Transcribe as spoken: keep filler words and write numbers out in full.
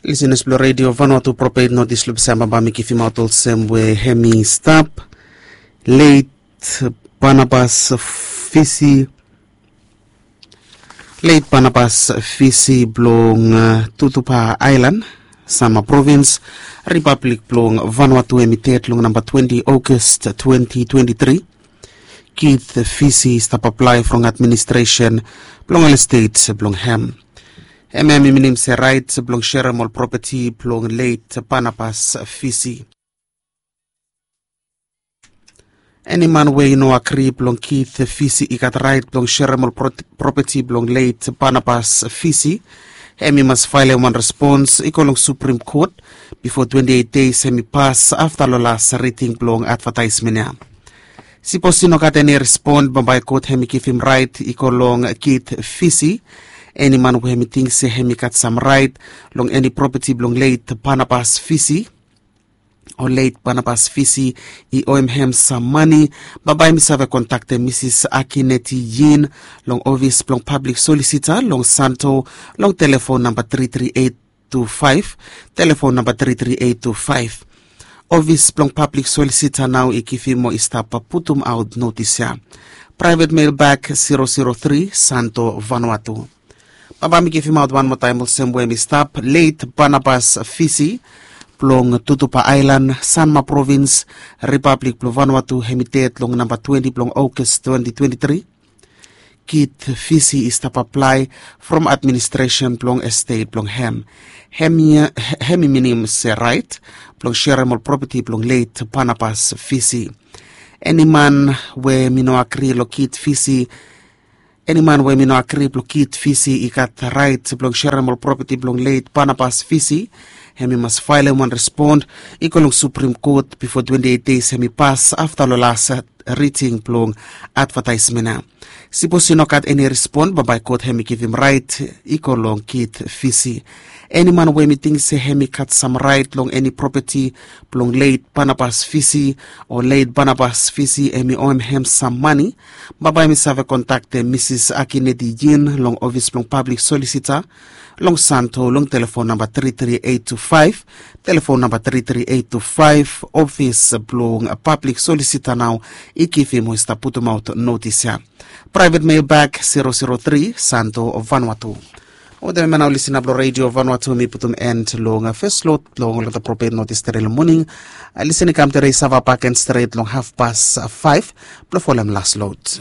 Lisenas blong redio Vanuatu propet notis long pesa baba mi givimaot olsem we hem i stap. Leit Barnabas Fisi. Leit Barnabas Fisi blong Tutupa Ailan, Sanma provins, Ripablik blong Vanuatu, hem i ded long namba twenti August twenti twenti tri. Kit Fisi i stap aplae from administresen blong ol estet blong hem. Hem hem i minim se rait blong serem ol propeti blong leit Barnabas Fisi. Eni man we i no agri blong Kit Fisi i gat rait blong serem ol propeti blong leit Barnabas Fisi. Hem i mas faelem wan respons i go long Suprim Kot bifo twenti eit deis hem i pas afta long las riting blong advataesmen ya. Sipos i no gat eni respon, bambae kot hem i givim rait i go long Kit Fisi. Eni man we hem i ting se hem i gat sam rait long eni propeti blong leit Barnabas Fisi, o leit Barnabas Fisi i oem hem sam mane, bambae hem i save kontaktem Misis Akineti Yin long ofis blong pablik solisita long Santo long telefon namba tri tri eit tu faef, telefon namba tri tri eit tu faef. Ofis blong pablik solisita nao i givim mo i stap putumaot notis ya. Praevet mel bak zero zero tri, Santo, Vanuatu. Baba mi givimaot wan moa taem olsem we hem i stap, leit Barnabas Fisi blong Tutupa Ailan, Sanma provins, Ripablik blong Vanuatu, hem i ded long namba twenti blong August twenti twenti tri. Kit Fisi i stap aplae from administresen blong estet blong hem. Hem i minim se rait blong serem ol propeti blong leit Barnabas Fisi. Eni man we hem i no agri long Kit Fisi, eni man we hem i no agri blong Kit Fisi i gat rait blong serem ol propeti blong leit Barnabas Fisi. Hem i mas faelem wan respon i go long Suprim Kot bifo twenti eit deis hem i pas afta long las riting blong advataesmen ya. Sipos i no gat eni respon, bambae kot hem i givim rait i go long Kit Fisi. Eni man we hem i ting se hem i gat sam rait long eni propeti blong leit Barnabas Fisi, o leit Barnabas Fisi hem i oem hem sam mane, bambae hem i save kontaktem Misis Akineti Yin long ofis blong pablik solisita long Santo long telefon namba tri tri eit tu faef, telefon namba tri tri eit tu faef. Ofis blong pablik solisita nao i givim o i stap putumaot notis ya. Praevet mel bak zero zero tri, Santo, Vanuatu. Wetem hem ya nao, lisenas blong redio Vanuatu, mi putum en long fes lot blong olgeta propet notis tede long moning. Lisen i kam tede i save bak en stret long hafpas faef blong folem las lot.